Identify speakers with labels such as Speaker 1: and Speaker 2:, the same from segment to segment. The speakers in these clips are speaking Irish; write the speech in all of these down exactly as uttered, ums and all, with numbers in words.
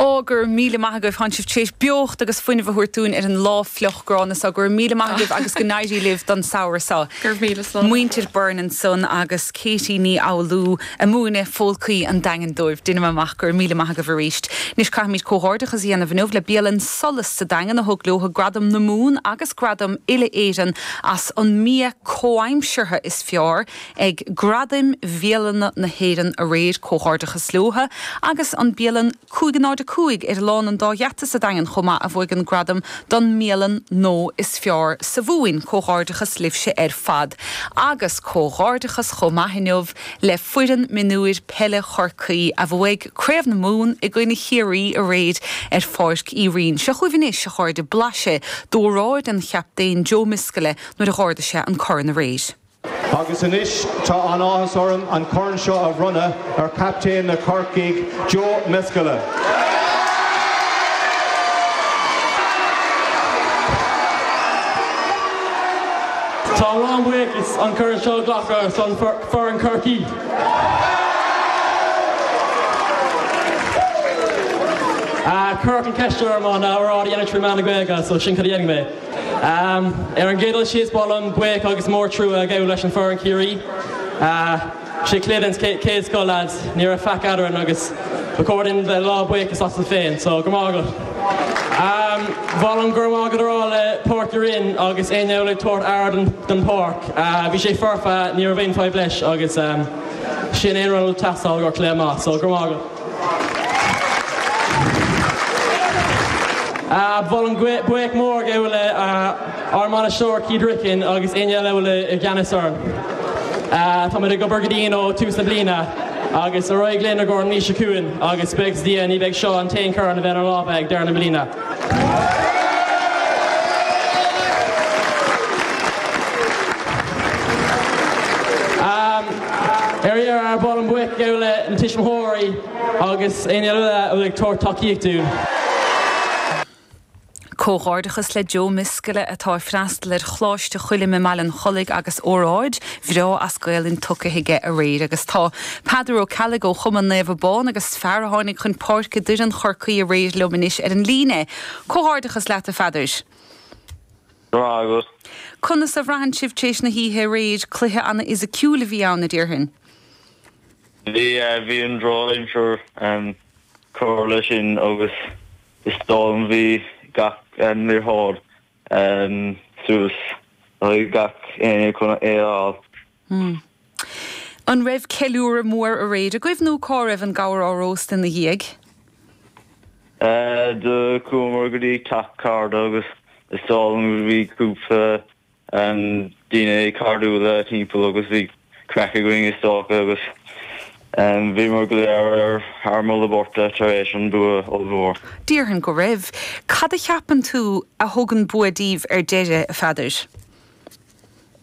Speaker 1: Ó go raibh míle maith agaibh tá sibh tar éis beocht agus fuinneamh a thabhairt dúinn ar an lá fliuch gránna seo go raibh míle maith agaibh agus go n-éirí libh don samhradh seo.
Speaker 2: Gur míle slán.
Speaker 1: Muintir Byrne ansan agus Katie Ní Fhoghlú ag múineadh folcaí an Daingin dóibh Déanaim amach go raibh míle maith agaibh arís. Anois caithfimid comhghairdeachas a dhéanamh inniu le bialann Solas sa Daingean a thug leo gradam na Mumhan agus gradam Uile Éireann as an mbia comhaimseartha is fearr ag gradaim bhialanna na hÉireann aréir comhghairdeachas leo agus an bialann cúig náid cúig ar Lána an Dá Gheata sa Daingean chomh maith a bhuaigh an gradam don mbialann nua is fearr sa Mhumhain comhghairdeachas libhse ar fad. agus comhghairdeachas chomh maith inniu le foireann mionúir peile Chorcaí a bhuaigh Craobh na Mumhan i gcoinne Chiarraí aréir ar Pháirc Uí Rinn. Seo chugaibh anois a chairde blaiseadh d'óráid an chaptaen Joe Miskella nuair a d'ardaigh sé an corn aréir.
Speaker 3: Agus anois tá an-áthas orm an corn seo a bhronnadh ar captaen na Corcaigh Joe Miskella.
Speaker 4: Tá an-bhuíochas an corn seo a ghlacadh ar son foireann Chorcaí. Cuireadh an ceist orm an óráid a dhéanamh trí mheán na Gaeilge, so sin cad a dhéanfaidh mé. Ar an gcéad dul síos ba mhaith liom buíoch agus mór trua a ghabháil leis an foireann Ciarraí. Sé cluiche den chéad scoth lads, ní raibh faic eadrainn agus ba chóir duinn bheith lá buíochas astu féin, so go raibh maith agat. Ba mhaith liom go raibh maith agat a rá le Páirc Uí Rinn agus éinne a bhfuil ag tabhairt aire don pháirc. Bhí sé foirfe, ní raibh aon fadhb leis agus sin aon rud a teastáil i gcomhair cluiche maith, so go raibh maith agat. Ba mhaith liom buíoch mór a ghabháil le ár mbainisteoir Keith Ricken agus éinne eile a bhfuil i gceannas orainn. Táimid ag obair go dian ó tús na bliana agus ar aghaidh linn i gcomhair an mhí seo chugainn agus buíochas le Dia ní bheidh seo an t-aon chorn a bheidh inár lámha ag deireadh na bliana. Ar dheireadh, ba mhaith liom buíoch a ghabháil le na tuismitheoirí agus éinne eile a bhfuil ag tabhairt tacaíocht dúinn.
Speaker 1: Comhghairdeachas le Joe Miskella atá ag freastal ar Choláiste Choilm i mBaile an Chollaigh agus óráid bhreá as Gaelainn tugtha aige aréir agus tá Peadar Ó Ceallaigh ó Chumann Naomh Abán agus fear a tháinig chun páirce d'fhoireann Chorcaí aréir liom anois ar an líne. Comhghairdeachas leat a Pheadair.
Speaker 5: Go raibh maith agat.
Speaker 1: Conas a bhraitheann sibh tar éis na hoíche aréir? Cluiche an-fhisiciúil a bhí ann, a déarfainn.
Speaker 5: Bhí, bhí an drochaimsir ag cur leis sin agus is dóigh liom bhí gach liathróid suas le gach éinne chun é a fháil.
Speaker 1: An raibh ceiliúradh mór aréir agaibh nó cá raibh an gabhar á róstadh ina dhiaidh?
Speaker 5: Do chuamar go dtí teach cara agus is dóigh liom go bhí cúpla daoine cairdiúla timpeall agus bhí craic againn is dócha agus bhíomar go léir ar thar moladh beirte tar éis an bua ollmhór.
Speaker 1: Déarfainn go raibh. Cad a cheapann tú a thug an bua daoibh ar deireadh, a Pheadair?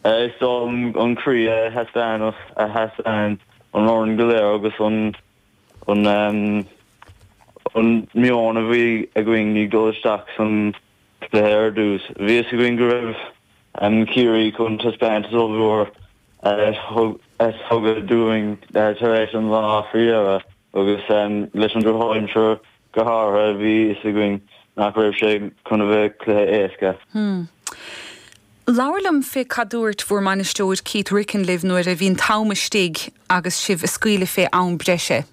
Speaker 5: Is dóigh liom an croí a thaispeáin a thaispeáin an fhoireann go léir agus an an an meon a bhí againn ag dul isteach san cluiche ar dtús. Bhí fhios againn go raibh Ciarraí chun taispeántas ollmhór a thugadh dúinn tar éis an lá faoi dheireadh agus leis an drochaimsir go háirithe bhí fhios againn nach raibh sé chun a bheith cluiche éasca.
Speaker 1: Labhair liom fé cad dúirt bhur mbainisteoir Keith Ricken libh nuair a bhí an t-am istigh agus sibh ag scaoileadh fé am breise.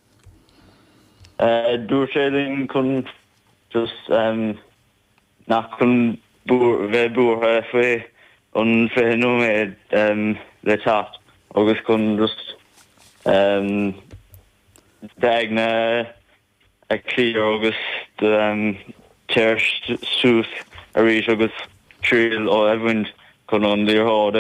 Speaker 5: Dúirt sé linn chun just nach chun bheith buartha faoi an fiche nóiméad le teacht agus chun just d'aigne a clear agus téir suas arís agus triail a bhaint chun an liathróid